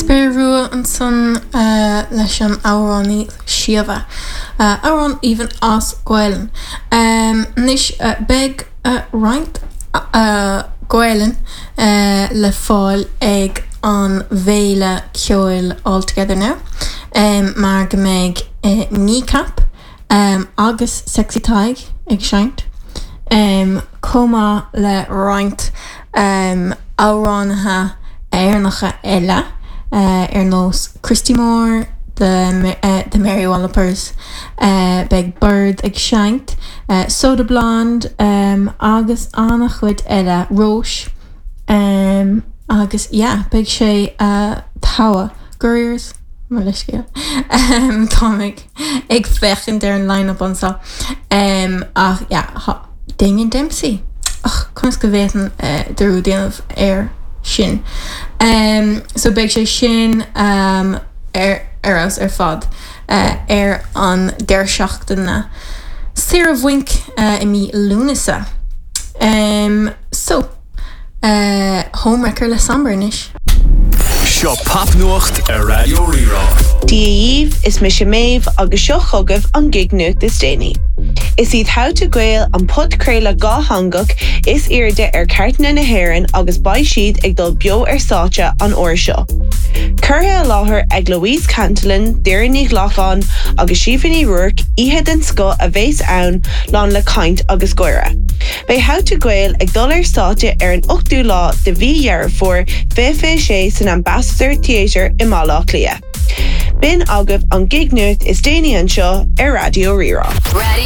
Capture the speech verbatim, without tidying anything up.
Spéir Rua ansan leis an amhránaí Síomha. Amhrán aoibhinn as Gaelainn. Anois beidh roinnt Gaelainn le fáil ag an bhféile ceoil All Together Now mar go mbeidh Kneecap agus Sexy Tadhg ag seinnt chomh maith le roinnt amhránaithe Éireannacha eile ar nós Christy Moore, the the Mary Wallopers, beidh Bord ag seinnt, Soda Blonde agus an-chuid eile Róis agus yeah beidh sé togha Gurriers mo leithscéal Táim ag féachaint ar an line-up anseo ach yeah Damien Dempsey ach conas go bhféadfainn dearúd déanamh air sin. So beidh sé sin ar ar fheabhas ar fad ar an deireadh seachtaine saoire bhainc i mí Lúnasa. So Homewrecker le Somber anois. Seo popnuacht ar Raidió Rí-Rá. Dia dhaoibh is mise Méabh agus seo chugaibh an gig nuacht is déanaí. Is iad How to Gael an podchraoladh dátheangach is airde ar chairteanna na hÉireann agus beidh siad ag dul beo ar stáitse an uair seo. Curtha i láthair ag Louise Cantillon, Doireann Ní Ghlacáin agus Síomha Ní Ruairc oíche den scoth a bheas ann lán le caint agus gáire. Beidh How to Gael ag dul ar stáitse ar an ochtú lá de mhí Dheireadh Fómhair fiche sé san Ambassador Theatre i mBaile Átha Cliath. B'in agaibh an gig nuacht is déanaí anseo ar Raidió Rí-Rá. Radio